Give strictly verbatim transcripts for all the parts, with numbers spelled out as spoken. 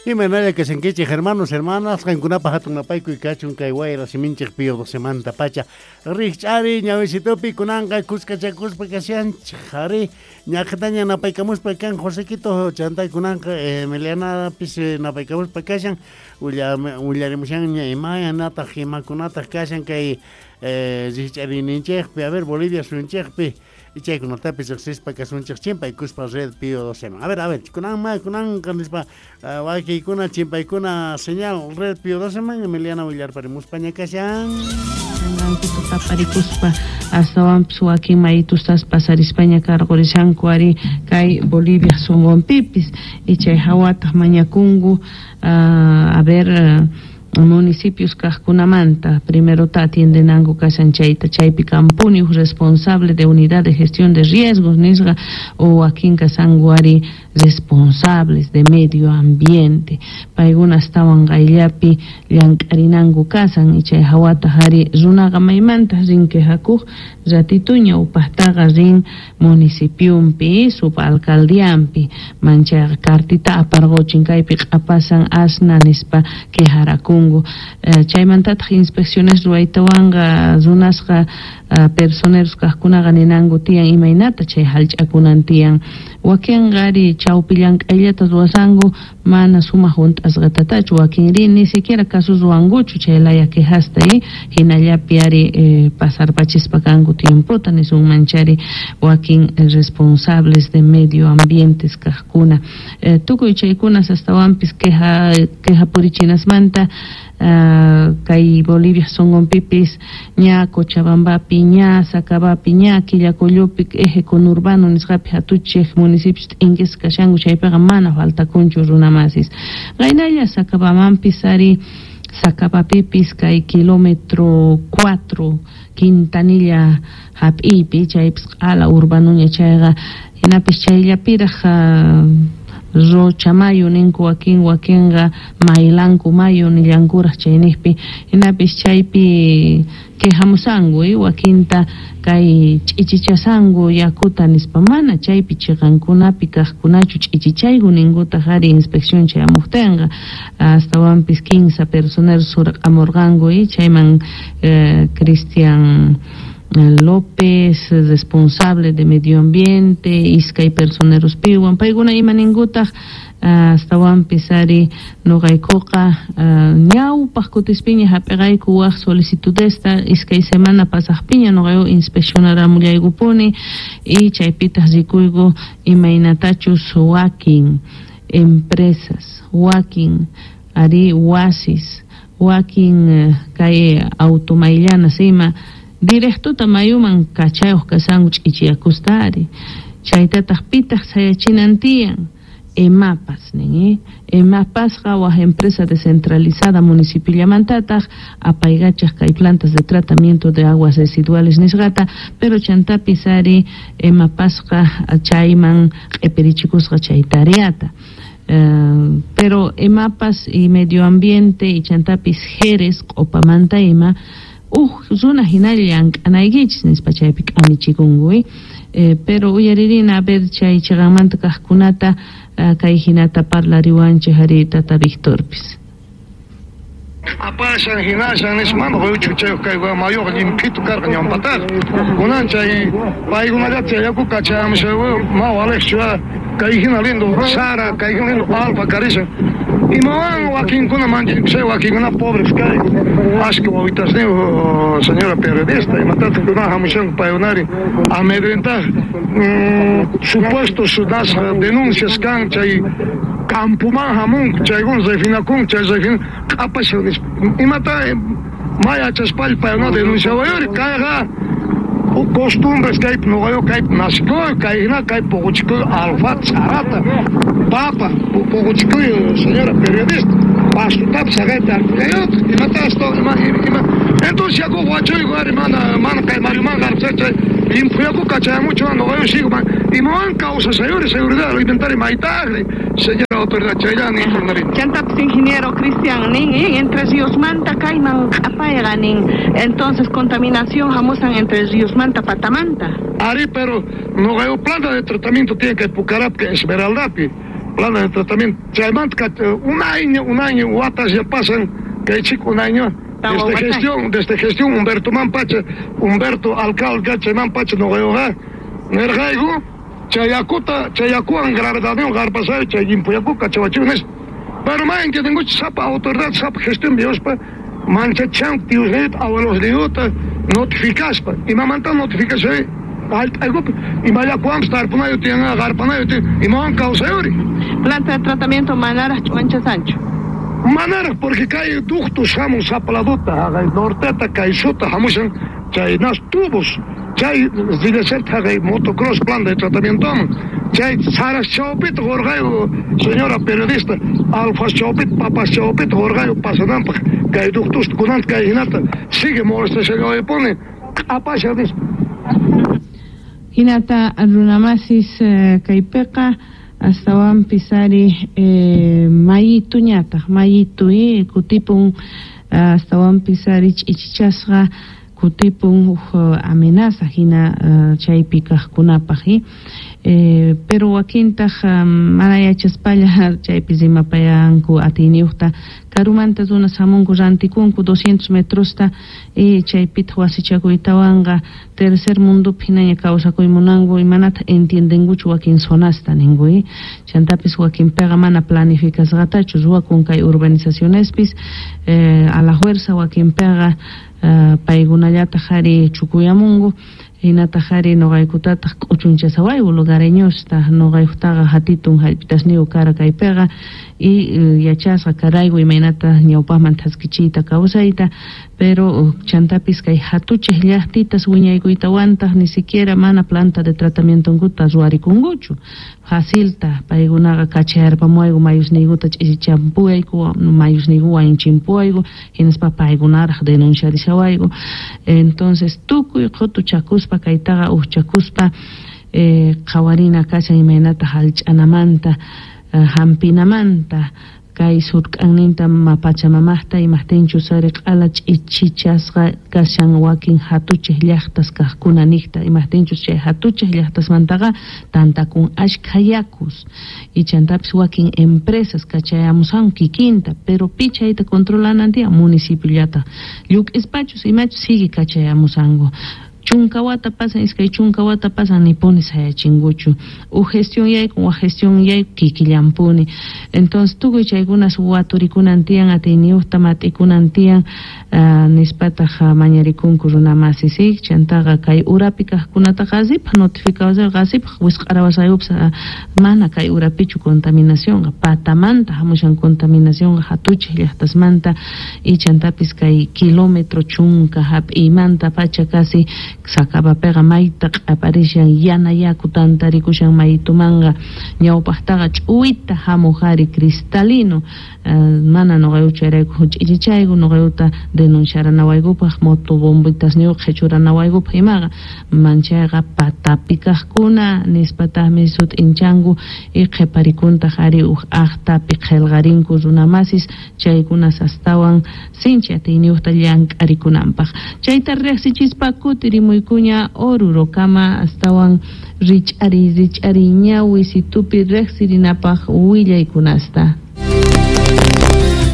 Imaynalla kashankichik, hermanos, hermanas, qankunapaq hatun napaykuy kachun kay wayra siminchik Pío Doce pacha. Rikch'ari ñawisitupi kunanqa kuskachakuspa kashanchik, ari ñaqtaña napaykamuspa kan Josequito chantay kunanqa Emilianapis napaykamuspa kashan, willarimushanña imaynataq imakunataq kashan kay rikch'arininchikpi, a ver, Bolivia suyunchikpi, chaykunatapis riqsispa kasunchik chimpaykuspa red Pío Doce. A ver, a ver, kunan kunanqa nispa wakiykuna chimpaykuna señal red Pío Doce man Emiliana willarparimuspaña kashan. Taparikuspa astawanpis wakin maytustas pasarispaña karqurishanku ari kay Bolivia sunqunpipis y chay hawataq mañakunku a ver municipios kaqkunamanta primero ta atiendenanku kashan chayta chaypi kampuni responsable de unidad de gestión de riesgos nisqa o wakin kashanku ari responsables de medio ambiente paykuna astawan qayllapi llank'arinanku kasan y chay hawataq ari runaqa maymanta rin quejakuq ratituña upaqtaqa rin municipiumpi subalcaldiampi manchayqa cartita aparquchin kaypi q'apasan asna nispa quejarakunku chaymantataq inspecciones ruwaytawanqa runasqa personeros kaqkunaqa ninanku tiyan imaynata chay hallch'akunan tiyan wakinqa ari chawpi llank'ayllata ruwasanku mana sumaq hunt'asqatatachu wakinri ni siquiera caso ruwankuchu chay laya quejasta hinallapi ari pasarpachispa kanku tiempota nisunman chari wakin responsables de medio ambientes kaqkuna tukuy chaykunas astawanpis queja queja purichinasmanta kay Bolivia sunqunpipis ña Cochabambapi ña Sacabapi ña Quillacollopi eje conurbano nisqapi hatuchik municipios t'inkisqa kashanku chaypiqa mana faltakunchu runamasis qaynalla Sacabamanpis ari Sacabapipis kay kilómetro cuatro Quintanilla hap'iypi chaypis q'ala urbanuña chayqa hinapis chayllapiraq Rocha Mayo ninku wakin wakinqa Maylanku Mayo nillankuraq chayniqpi hinapis chaypi quejamusanku wakinta kay ch'ichichasanku yakuta nispa mana chaypi chiqankunapi kaqkunachu ch'ichichayku ninkutaq ari inspección chayamuqtinqa astawanpis quince personeros surq'amurqanku chayman Cristian López, responsable de medio ambiente, iskay personeros piwan, paykuna ima ninkutaq astawanpis ari nuqaykuqa ñawpaq kutispiña hap'iqayku waq solicitudesta iskay semana pasaqpiña nuqayku inspeccionaramullaykupuni y chaypitaq rikuyku imaynatachus wakin empresas, wakin ari wasis, wakin kay automayllanas ima directota mayuman kachayuq kasanku ch'ichiyakusta ari chaytataq pitaq sayachinan tiyan EMAPAS nin EMAPASqa waq empresa descentralizada municipillamantataq apaykachaq kay plantas de tratamiento de aguas residuales nisqata pero chantapis ari EMAPASqa chayman q'ipirichikusqa chay tareata. Uh, pero EMAPAS y medio ambiente y chantapis Jerez q'upamanta ima uj runa hinalla llank'anaykichis nispa chaypi k'amichikunku eh, pero uyaririna a ver chay chiqanmanta kaqkunata uh, kay hinata parlariwanchik ari tata Victorpis. Apasan hinashan nispa mana quyuchu kay mayuqa llimphitu karqa ñawpataqa kunan chay paykunallata chay yaku kachamusha ma waliqchu kay hina lindo sara kay hina lindo alfa karishan imawan wakinkuna manchay wakinkuna pobres kay ashka wawitasniyuq señora periodista imatataq kuna hamushanku paykunari amedrentaj supuestos das denuncias kan chay campuman hamunku chaykuna refinakun chay refin q'apashan nispa imata maya chaspalla paykuna denunciawayuri kayqa costumbres kaypi nuqayuq kaypi nacikuy kay hina kay puquchikuy alfa sarata papa puquchikuy señora periodista pastutapis saqayta arpullayutaq imata ima ima entonces yakuq wachuyku ari mana mana kay mayuman qarpusaq llimphu yaku kachayamuchu nuqayuq sigo imawan kawsasayuri seguridad alimentaria maytaqri señora autoridad chayllani informarini. Chantapis ingeniero Cristian nin Entre Ríos manta kayman q'apayqa nin entonces contaminación hamusan Entre Ríos manta patamanta. Ari pero nuqayuq planta de tratamiento tiene que Pucarap que Esmeraldapi Planta de tratamiento. Chaymanta un año, un año, watas ya pasan, que chico un año. Desde gestión, desde gestión Humberto Mampacha, Humberto alcalde Chaymampacha no veo, nergaigo, chayakuta, chayakuan gravedad garpasay, chayimpuyakuka, chawachunes. Pero más que tengo sapa autoridad, sapa gestión biospa, mancha chan, tiusnet, abuelos de yuta, notificaspa. Y mamanta notificación, algo, y maya cuam, tarpunayo tiene, garpanayo tiene, y man causa yuri. Planta de tratamiento Manara, Chuancha Sancho. Manara, porque cae ductos, hamun sapaladuta, norteta, caisuta, hamushan, chay nas tubos, chay zilesert, haga motocross, plan de tratamiento, chay saras chaupit, gorgayo, señora periodista, alfas chaupit, papas chaupit, gorgayo, pasanampa, cae ductos, kunant, cae hinata, sigue molesta, se pone, apasha, dice. Hinata, runamasis, kaypeqa, astawanpis ari eh, mayituñataq mayitu eh, kutipun astawanpis ari ch'ichichasqa kutipun huk amenaza hina uh, chaypi kaqkunapaq eh. Eh, pero wakintaq um, mana yachaspalla chaypi rimapayanku atiyniyuqta karumanta runas hamunku rantikunku doscientos metrosta y chaypitaq wasichakuytawanqa tercer mundopi hinaña kawsakuy munanku imanataq entiendenkuchu wakin zonasta ninku eh. Chantapis wakinpiqa mana planificasqatachu ruwakun kay urbanizacionespis eh, a la fuerza wakinpiqa uh, paykunallataq ari chukuyamunku hinataq ari noqaykutataq k'uchunchasawayku lugareñosta noqaykutaqa hatitun hallp'itasniyuq kara kaypiqa y yachasqa karayku imaynata ñawpaqman thaskichiyta kawsayta pero chantapis kay hatuchej llaqtitas wiñaykuytawantaq ni siquiera mana planta de tratamientonkuta ruwarikunkuchu facilta paykunaqa kachayarpamuwayku mayusniykuta ch'isichampuwayku mayusniyku wañuchimpuwayku hinaspa paykunaraq denunciarishawayku entonces tukuy qhutuchakuspa kaytaqa uqchakuspa eh, qhawarina kashan imaynata hallch'anamanta hampinamanta kay surk'anninta pachamamaqta imaqtinchus ari q'ala ch'ichichasqa kashan wakin hatuchej llaqtas kaqkuna niqta imaqtinchus chay hatuchej llaqtasmantaqa tantakun ashkha yakus y chantapis wakin empresas kachayamusan kikinta pero pi chayta controlanan tiyan municipiollata lluk'ispachus imachus sigue kachayamusanku chunka wata pasan iskay chunka wata pasan nipuni sayachinkuchu uj gestión yaykun waj gestión yayku kikillampuni entonces tukuy chaykunas waturikunan tiyan atiyniyuqta mat'ikunan tiyan uh, nispataq mañarikunku runamasi si chantaqa kay urapi kaqkunataqa qasipaq notificawasayku qasipaq wisq'arawasaykupas uh, mana kay urapichu contaminacionqa patamanta hamushan contaminacionqa hatuchej llaqtasmanta y chantapis kay kilómetro chunka hap'iymanta pacha casi Sacabapeqa mayta q'aparishan yana yaku tantarikushan maytumanqa ñawpaqtaqa ch'uwita hamuq ari cristalino uh, mana noqayku chayrayku ch'ichichayku noqaykuta denunciaranawaykupaq motobombitasniyuq qhichuranawaykupaq imaqa manchayqa patapi kaqkuna nispataqmi sut'inchanku y qhiparikuntaq ari uj aqtapi qillqarinku runamasis chaykunas astawan sinchi atiyniyuqta llank'arikunanpaq chayta riqsichispa kutirimuykuña Orurokama astawan rich'ari rich'ari ñawi situpi riqsirinapaq willaykunasta.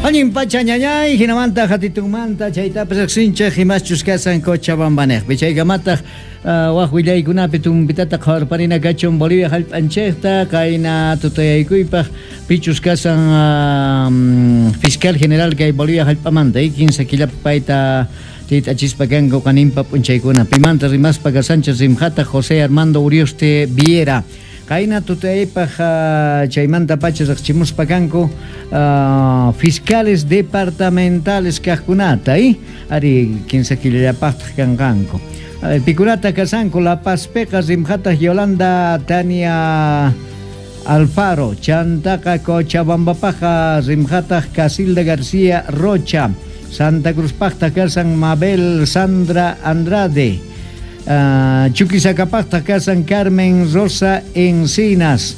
Allin pacha ñañay, hinamanta hatitunmanta chaytapas riqsinchik imaschus kasan Cochabambanejpi chaykamataq uh, waj willaykunapi tumpitata qhawarparina kachun Bolivia hallp'anchikta kayna tutayaykuypaq pichus kasan uh, fiscal general kay Bolivia hallp'amanta kinsa killapi payta titachispa kanku qaninpa p'unchaykuna pimanta rimaspa kasanchis rimjata José Armando Urioste Viera Kayna tutaypaq uh, chaymanta pacha riqchimuspa kanku uh, fiscales departamentales kaqkunata eh? Ari kinsa killallapaqtaq kanqanku pikunata kasanku La Pazpiqa rimjataq Yolanda Tania Alfaro chantaqa Cochabambapaqa rimjataq Casilda García Rocha Santa Cruzpaqta kasan Mabel Sandra Andrade Uh, Chuquisacapaqta kasan Carmen Rosa Encinas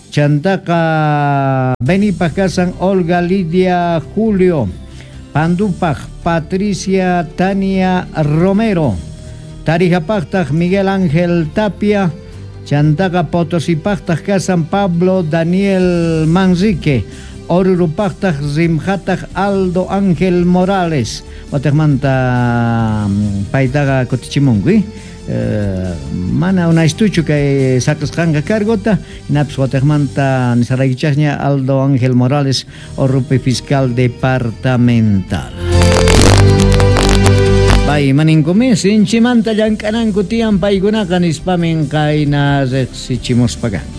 Chantaqa Benipaq kasan Olga Lidia Julio Pandupaq Patricia Tania Romero Tarijapaqtaq Miguel Ángel Tapia Chantaqa Potosipaqtaq kasan Pablo Daniel Manrique, Orurupaqtaq Rimjataq Aldo Ángel Morales. Wataqmanta paytaqa kutichimunku, eh? Uh, mana unaystuchu kay saqisqanqa cargota, hinapis wataqmanta nisaraykichaqña Aldo Ángel Morales, Orupi fiscal departamental. Pay maninkumi sinchimanta llank'ananku tiyan paykunaqa nispamin qayna riqsichimuspa kanku.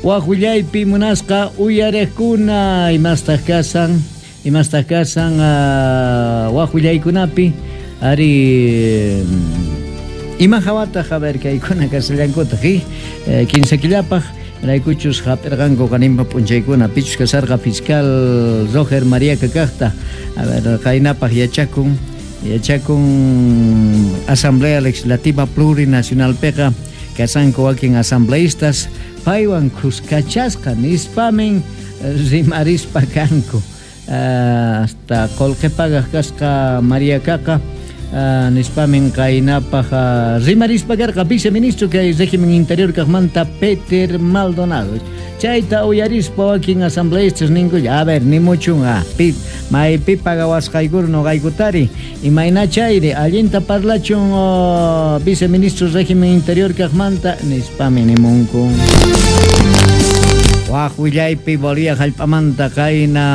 Waj willaypi munasqa uyariqkuna imastaq kasan, imastaq kasan uh, waj willaykunapi ari ima hawataq a ver kaykuna kasallankutaq eh, kinsa killapaq raykuchus hap'irqanku qanimpa p'unchaykuna pichus kasarqa fiscal Roger María Kakaqta a ver qaynapaq yachakun yachakun Asamblea Legislativa Plurinacionalpiqa kasanku wakin asambleístas paywan kuskachasqa nispamin rimarispa kanku uh, hasta qullqi pagaq kasqa María Kaqa Uh, nispamin qaynapaq uh, rimarispa karqa viceministro kay régimen interior kaqmanta Peter Maldonado. Chayta uyarispa wakin asambleístas ninku, a ver, ni muchun ah, pi, maypi pagawasqaykuru nuqaykutari imayna chayri allinta parlachun oh, viceministro régimen interior kaqmanta nispamin nimunku. Waj willaypi Bolivia hallp'amanta qayna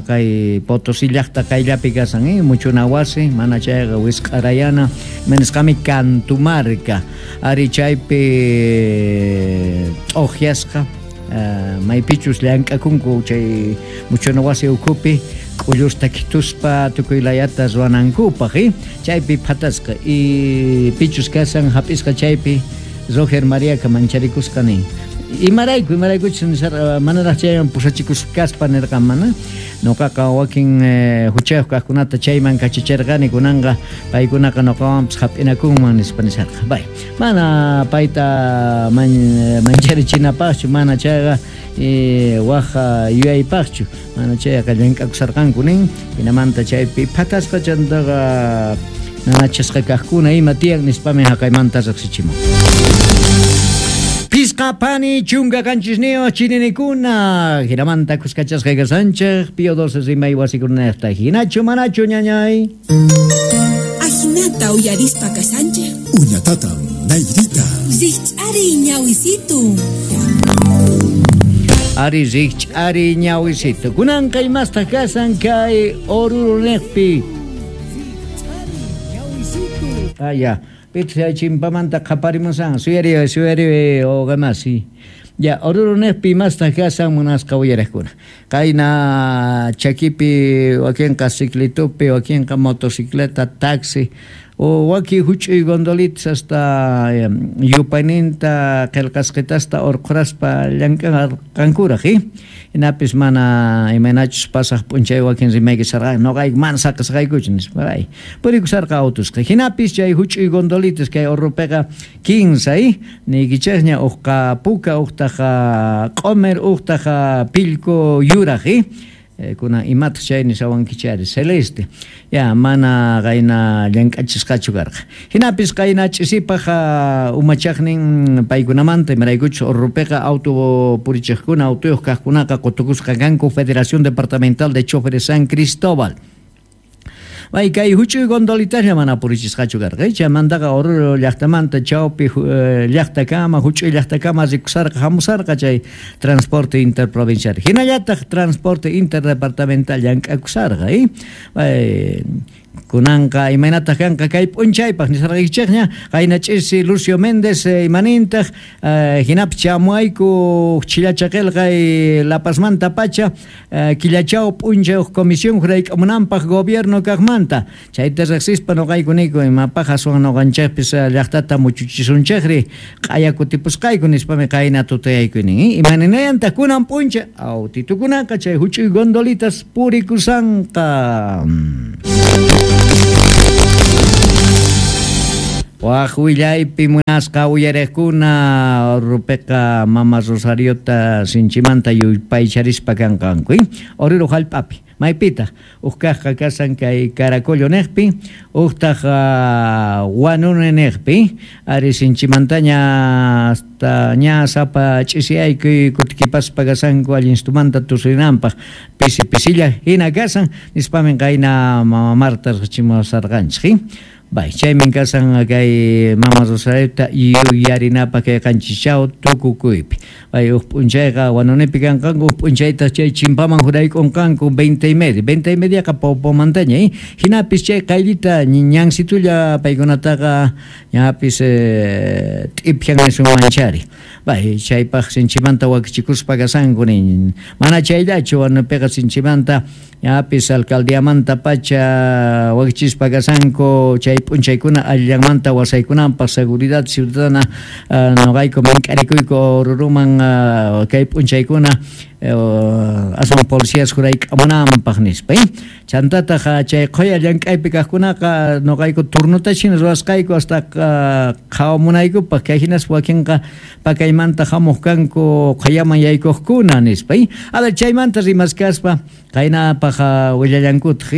kay Potosí llaqta qayllapi kasan, eh? Muchuna wasi, mana chayqa wisq'arayana, manisqami Cantumarca, ari chaypi t'uqyasqa, uh, maypichus llank'akunku chay muchuna wasi ukhupi k'ullusta khituspa tukuy layata ruwanankupaq, eh? Chaypi phatasqa y pichus kasan hap'isqa chaypi Roger Mariaka mancharikusqa nin. Imarayku, imaraykuchus nisarqa manaraq chayman pusachikusqaspa nirqan mana. Nuqaqa wakin eh, huchayuq kaqkunata chayman kachicharqani kunanqa paykunaqa nuqawanpis hap'inakunman nispa nisarqa. Bay, mana payta man, mancharichinapaqchu, mana chayqa eh, waj yuyaypaqchu, mana chayqa llank'akusarqanku nin. Hinamanta chaypi phatasqa chantaqa nanachasqa kaqkuna ima tiyan nispami haqaymanta riqsichimun. Pisqa pani chunka qanchisniyuq chininikuna hinamanta kuskachasqa kasanchik Pío doce rimay wasikunaqta hinachu manachu ñañay Ajinata uyarispa kasanchik Uñatatam nayrita Rikch'ari ñawisitu Ari rikch'ari ñawisitu kunanqa imastaq kasan kay Oruro niqpi Ah ya Pitsa chimpamanta qhaparimusan suyari suyari oqamasi ya Oruro niqpi imastaq kasan munasqa uyariqkuna qayna chakipi wakinqa ciclitupi wakinqa motocicleta taxi o waki huch'uy gondolitas hasta yupayninta qillqasqitasta urquraspa llank'arqankuraq eh hinapis mana imaynachus pasaq p'unchay wakin rimaykisarqa nuqayku mana saqisqaykuchu nispa ay purikusarqa autusqa hinapis chay huch'uy gondolitas kay Orrupiqa kinsa eh niykichaqña uqqa puka uqtaqa q'umir uqtaqa pillku yuraq eh kuna imataq chay nisawankichari celeste ya mana qayna llank'achisqachu karqa hinapis qayna ch'isipaq umachaqnin paykunamanta imaraykuchus Orrupiqa auto purichiqkuna autoyuq kaqkunaqa qutukusqa kanku Federación Departamental de Choferes San Cristóbal. Bay kay huch'uy gondolitaslla mana purichisqachu karqa chaymantaqa Oruro llaqtamanta chawpi llaqtakama huch'uy llaqtakama rikusarqa hamusarqa chay transporte interprovincial hinallataq transporte interdepartamental llank'akusarqa eh bay kunanqa imaynataq kanqa kay p'unchaypaq nisarqaykichikña qayna ch'isi Lucio Méndez imanintaq hinapis chamuayku chillacha qillqay La Pazmanta pacha killachaw p'unchay uq comisión hurayk'amunanpaq gobierno kaqmanta chayta riqsispa nuqayku niyku imapaq aswan nuqanchikpis llaqtata muchuchisunchikri q'aya kutipusqayku nispami qayna tutayayku nin imaninayantaq kunan p'unchay autitukunaqa chay huch'uy gondolitas purikusanqa. Waj willaypi munasqa uyariqkuna Orrupiqa mama Rosariota sinchimanta yupaycharispa kanqanku Oruro hallp'api Maypitaq uj kajqa kasan kay Caracollo neqpi, ujtaq uh, Huanuni neqpi, ari sinchimantaña hasta ña sapa ch'isiyaykuy kutikipaspa kasanku allinstumanta tusurinanpaq pisi pisilla hina kasan nispamin qayna mama Marta riqchimusarqanchik. Bay, chaymin kasan kay mama Rosarita yuyarinapaq kay qanchichaw tukukuypi. Bay, uj p'unchayqa Huanunipi kanqanku, uj p'unchaytaq chay chimpaman juraykunqanku veinte y media, veinte y mediaqa Paupomantaña, eh? Hinapis chay qayllita ñansitulla paykunataqa ñapis eh, t'ipyan nisunmanchari. Bay, chaypaq sinchimanta wakichikuspa kasanku nin. Mana chayllachu Huanupiqa sinchimanta ñapis alcaldiamanta pacha wakichispa kasanku chay p'unchaykuna allanmanta wasaykunanpaq seguridad ciudadana uh, noqayku mink'arikuyku Oruruman uh, kay p'unchaykuna uh, aswan policías jurayk'amunanpaq nispa. Eh? Chantataq chay qhuya llank'aypi kaqkunaqa noqayku turnota hina ruwasqayku hasta uh, qhawamunaykupaq kay hinas wakinqa pakaymanta hamuq kanku qhuyaman yaykuqkuna nispa. Eh? A ver, chaymanta rimaskaspa qaynapaq willallankutaq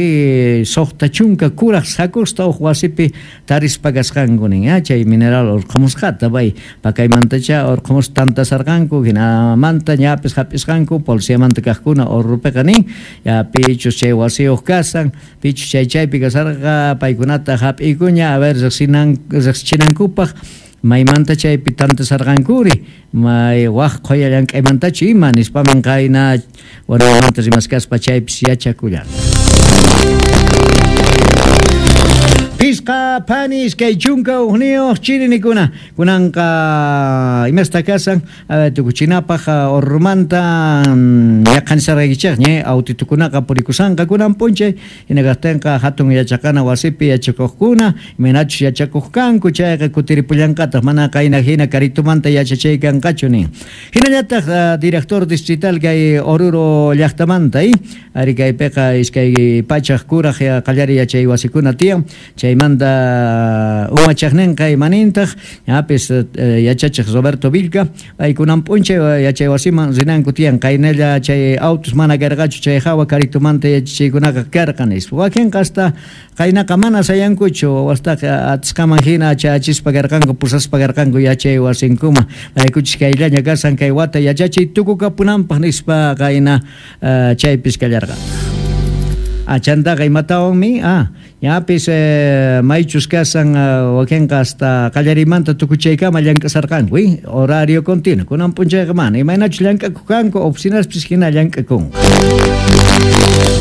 suqta chunka kuraq sakusta uj wasipi tarispa kasqanku nin, chay mineral urqhumusqata bay pakaymantacha urqhumus tantasarqanku hinamanta ñapis hap'isqanku policiamanta kaqkuna Orurupiqa nin, ya pichus chay wasiyuq kasan pichus chay chaypi kasarqa paykunata hap'ikuña a ver riqsinan riqsichinankupaq maymanta chaypi tantasarqankuri may waq qhuya llank'aymantachu ima nispaman qayna Huanunimanta rimaskaspa chaypis yachakullan. Pisqa phani iskay chunka ujniyuq chirinikuna kunanqa imasta kasan tukuchinapaq Orurumanta yaqanisarqaykichik ña autitukunaqa purikusanqa kunan p'unchay hina kaqtinqa hatun yachaqana wasipi yachakuqkuna imaynachus yachakuq kanku chayqa kutiripullanqataq mana qayna hina karitumanta yachachay kanqachu nin. Hinallataq director distrital kay Oruro llaqtamanta ari kaypiqa iskay pachaq kuraq qallari yachay wasikuna tiyan chaymanta umachaqninqa imanintaq ñapis yachachiq Roberto Vilca paykunan p'unchay yachay wasiman rinanku tiyan qaynalla chay autos mana karqachu chay hawa karitumanta yachachiykunaqa karqa nispa wakinqa hasta qaynaqa mana sayankuchu wawastaqa atisqaman hina chayachispa karqanku pusaspa karqanku yachay wasinkuma maykuchis kayllaña kasan kay wata yachachiy tukukapunanpaq nispa qayna chaypis kallarqa. Ah, chantaqa imatawanmi ah ñapis eh, maychus kasan uh, wakinqa hasta qallarimanta tukuchaykama llank'asarqanku eh? Horario continuo kunan p'unchayqa mana imaynachus llank'akuq kanku oficinaspis hina llank'akunqa.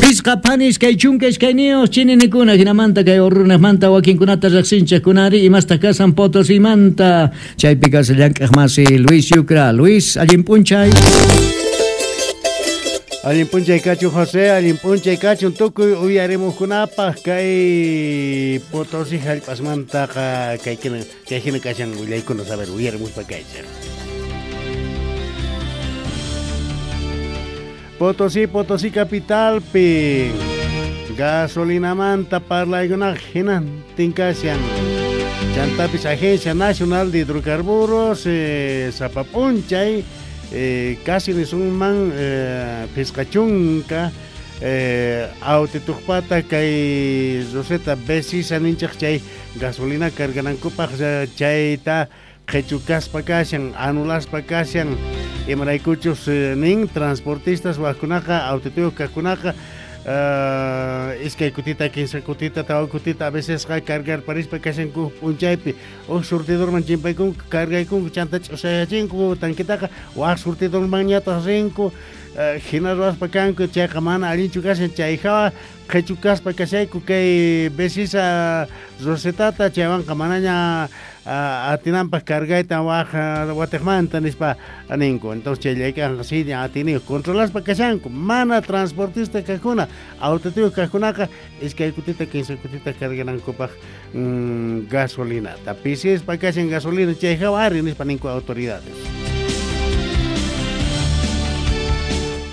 Pisqa phani iskay chunka iskayniyuq chininikuna hinamanta kay Orurunaqmanta wakinkunata riqsinchik kunari imasta kasan Potosimanta chaypi kasan llank'aq masi Luis Yucra. Luis, allin p'unchay. Allin p'unchay kachun José, allin p'unchay kachun tukuy uyarimuqkunapaq kay Potosí hallp'asmantaqa kay hina kay hina kashan willaykuna saber uyarimuspa kaychik. Potosí, Potosí capitalpi gasolinamanta parlaykunaq hinantin kashan. Chantapis Agencia Nacional de Hidrocarburos eh, sapa p'unchay Eh, casi nisunman eh, pisqachunka eh, autituqpata kay Roseta Besisa ninchaq chay gasolina carganankupaq chayta qhichukaspa kashan anulaspa kashan imaraykuchus eh, nin transportistas wajkunaqa autituyuq kaqkunaqa Uh, iskay kutita, kinsa kutita, tawa kutita a veces cargar parispa kashanku p'unchaypi uj surtidorman chimpaykunku cargaykunku chanta ch'usayachinku tanquitaqa waj surtidormanñataq rinku uh, hina ruwaspa kanku chayqa mana allinchu kashan chay hawa qhichukaspa kashayku kay Besisa Rosetata chaywanqa manaña uh, atinanpaq cargayta waj watiqmanta nispa ninku. Entonces chayllaykanqa si atiniyuq controlaspa kashanku mana transportista kaqkuna autituyuq kaqkunaqa iskay kutita kinsa kutita carganankupaq mm, gasolinata pisispa kashan gasolina chay hawa ari nispa ninku autoridades.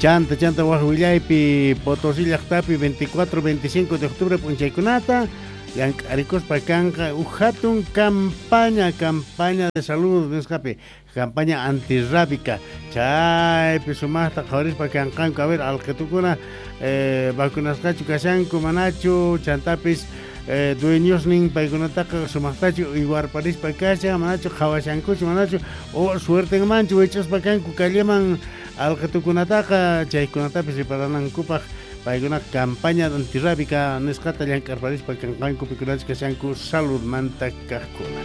Chanta chanta waj willaypi Potosí llaqtapi veinticuatro veinticinco de octubre p'unchaykunata llank'arikuspa kanqa uj hatun campaña campaña de salud nisqapi campaña antirrábica chaypi sumaqta qhawarispa kanqanku a ver alqitukuna eh, vacunasqachu kashanku manachu chantapis eh, dueñosnin paykunataqa sumaqtachu uywarparispa kashan manachu qhawashankuchu manachu o suertenmanchu wich'aspa kanku calleman alqitukunataqa chaykunatapis riparanankupaq paykuna campaña antirrábica nisqata llank'arparispa kanqanku pikunachus kashanku saludmanta kaqkuna.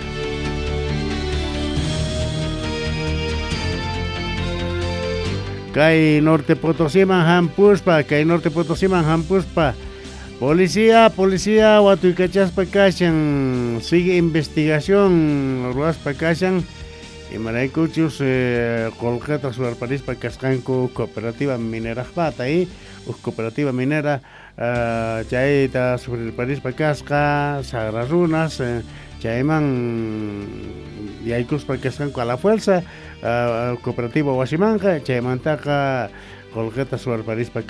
Kay Norte Potosiman hampuspa, kay Norte Potosiman hampuspa policía, policía watuykachaspa kashan, sigue investigación ruwaspa kashan imaraykuchus eh, qolqeta suwarparispa kasqanku cooperativa minerajpata eh, uj cooperativa minera uh, chayta sufrirparispa kasqa sagra runas eh, chayman yaykuspa kasqanku a la fuerza uh, cooperativa wasimanqa chaymantaqa qolqeta suwarparispa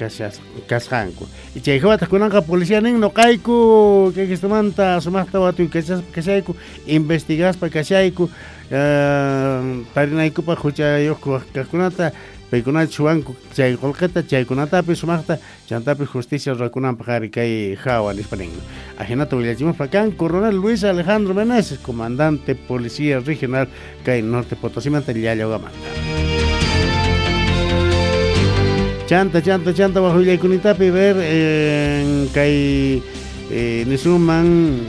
kasqanku y chay hawataq kunanqa policía nin noqayku kay kistumanta sumaqta watuykachaspa kashayku investigaspa kashayku uh, tarinaykupaq huchayuq kaqkunata paykunata chuwanku chay qolqeta chaykunatapis sumaqta chantapis justicia ruwakunanpaq ari kay hawa nispa nin. Ajinata willachimuspa kan coronel Luis Alejandro Meneses, comandante policía regional kay Norte Potosimanta Llallawamanta. Chanta, chanta, chanta bajo willaykunitapi ver en kay eh, nisuman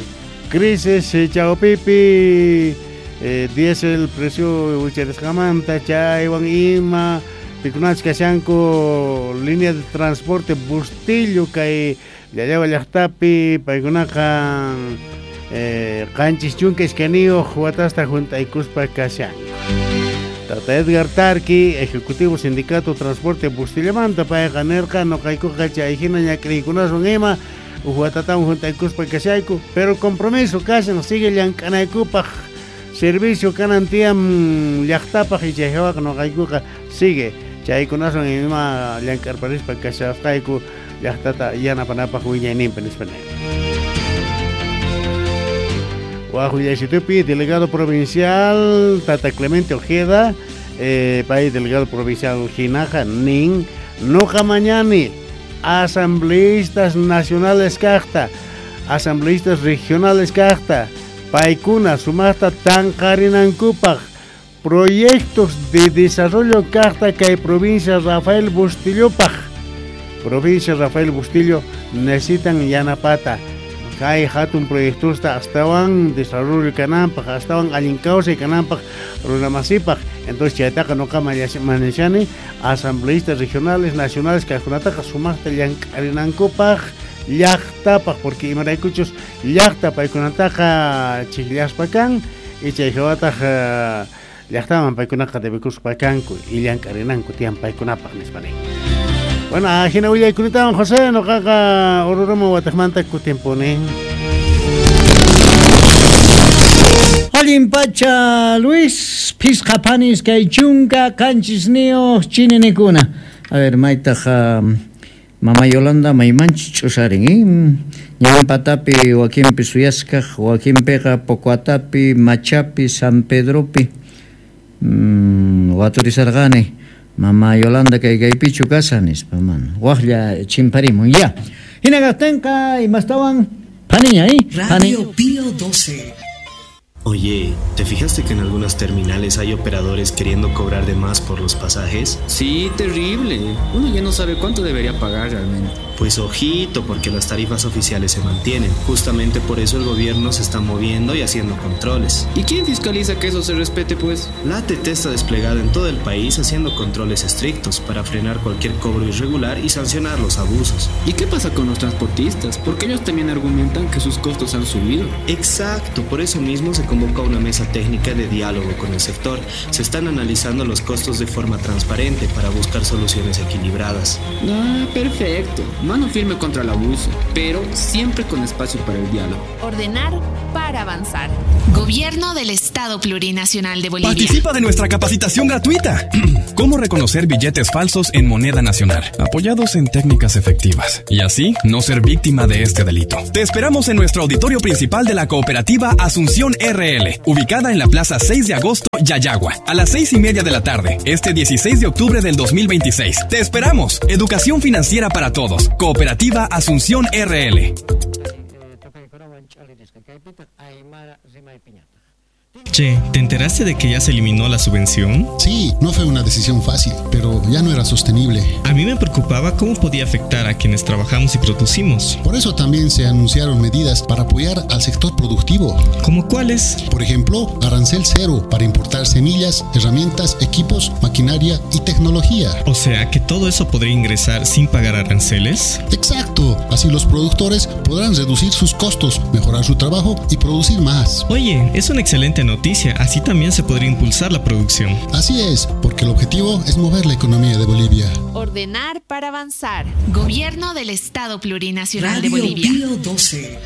crisis eh, chawpipi eh, diésel precio wicharisqamanta chaywan ima pikunachus kashanku línea de transporte Bustillo kay Llallawa llaqtapi paykunaqa eh, qanchis chunka iskayniyuq watasta juntaykuspa kashanku. Tata Edgar Tarqui, ejecutivo sindicato transporte Bustillamanta payqa nirqa noqaykuqa chayhina ñak'ariykunaswan ima uj watatawan juntaykuspa kashayku pero compromiso kashan sigue llank'anaykupaq servicio kanan tiyan llaqtapaq y chay hawaqa noqaykuqa sigue chaykunaswan ima llank'arparispa kashasqayku llaqtata yanapanapaq wiñayninpi nispa nin. Waj willaysitupi delegado provincial Tata Clemente Ojeda eh, pay delegado provincial hinaqa nin noqa mañani asambleístas nacionales kaqta asambleístas regionales kaqta paykuna sumaqta tanqarinankupaq proyectos de desarrollo kaqta kay provincia Rafael Bustillopaq provincia Rafael Bustillo necesitan yanapata kay hatun proyectosta astawan desarrollo kananpaq astawan allin kawsay kananpaq runamasipaq entonces chaytaqa noqa manashani asambleístas regionales nacionales kaqkunataqa sumaqta llank'arinankupaq llaqtapaq porque imaraykuchus llaqta paykunataqa chiqllaspa kan y chay hawataq llaqtaman paykunaqa debikuspa kanku y llank'arinanku tiyan paykunapaq nispa nin. Bueno, ajina willaykunatawan José noqaqa Oruro wataqmanta kutimpuni. Allin pacha Luis pisqa panis kay chunka qanchisniyuq chininikuna. A ver, maytaq Mama Yolanda maymanchu ch'usarin, eh? Ñanpatapi wakinpi suyaskaq, wakinpiqa Pocoatapi, Machapi, San Pedropi mm, waturisarqani. Mama Yolanda kay kaypichu kashan nispa mana. Waqlla chimparimun ya. Hina kaqtinqa imastawan paniña, eh? Radio Pío doce. Oye, ¿te fijaste que en algunas terminales hay operadores queriendo cobrar de más por los pasajes? Sí, terrible. Uno ya no sabe cuánto debería pagar realmente. Pues ojito, porque las tarifas oficiales se mantienen. Justamente por eso el gobierno se está moviendo y haciendo controles. ¿Y quién fiscaliza que eso se respete, pues? La A T T está desplegada en todo el país haciendo controles estrictos para frenar cualquier cobro irregular y sancionar los abusos. ¿Y qué pasa con los transportistas? Porque ellos también argumentan que sus costos han subido. Exacto, por eso mismo se convoca una mesa técnica de diálogo con el sector. Se están analizando los costos de forma transparente para buscar soluciones equilibradas. Ah, perfecto. Mano firme contra el abuso, pero siempre con espacio para el diálogo. Ordenar para avanzar. Gobierno del Estado Plurinacional de Bolivia. Participa de nuestra capacitación gratuita. Cómo reconocer billetes falsos en moneda nacional, apoyados en técnicas efectivas, y así no ser víctima de este delito. Te esperamos en nuestro auditorio principal de la cooperativa Asunción R L, ubicada en la Plaza seis de Agosto, Llallagua, a las seis y media de la tarde, este dieciséis de octubre del dos mil veintiséis. Te esperamos. Educación financiera para todos. Cooperativa Asunción R L. Che, ¿te enteraste de que ya se eliminó la subvención? Sí, no fue una decisión fácil, pero ya no era sostenible. A mí me preocupaba cómo podía afectar a quienes trabajamos y producimos. Por eso también se anunciaron medidas para apoyar al sector productivo. ¿Cómo cuáles? Por ejemplo, arancel cero para importar semillas, herramientas, equipos, maquinaria y tecnología. O sea, que todo eso podría ingresar sin pagar aranceles. Exacto, así los productores podrán reducir sus costos, mejorar su trabajo y producir más. Oye, es una excelente noticia, así también se podría impulsar la producción. Así es, porque el objetivo es mover la economía de Bolivia. Ordenar para avanzar. Gobierno del Estado Plurinacional Radio de Bolivia. Pío doce.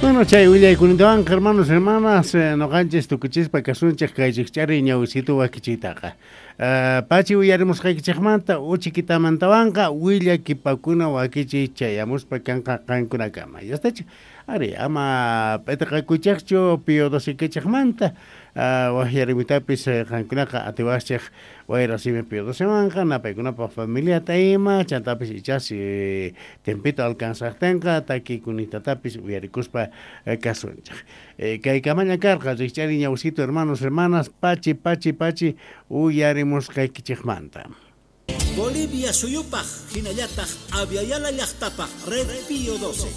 Bueno, chay willaykunintawan hermanos, hermanas, noqanchis tukuchispa kasunchik kay rikch'ari ñawisitu wakichiytaqa. Uh, pachi uyarimusqaykichikmanta uchikitamantawanqa willakipakuna wakichiy chayamuspa kanqa qankunakama. Yastachu? Ari, ama p'itiqakuychikchu Pío doce-kichikmanta, uh, waqyarimuytapis qankunaqa atiwaqchik wayra simi Pío docemanqa napaykunapaq familiata ima chantapis ichas tempito alcanzaqtinqa takikunitatapis uyarikuspa kasunchik. Eh, kay kamaña karqa rikch'ari ñawsito hermanos, hermanas, pachi, pachi, pachi uyarimusqaykichikmanta. Bolivia suyupaj, hinallataq Aviala llaqtapaq, Red Pío doce.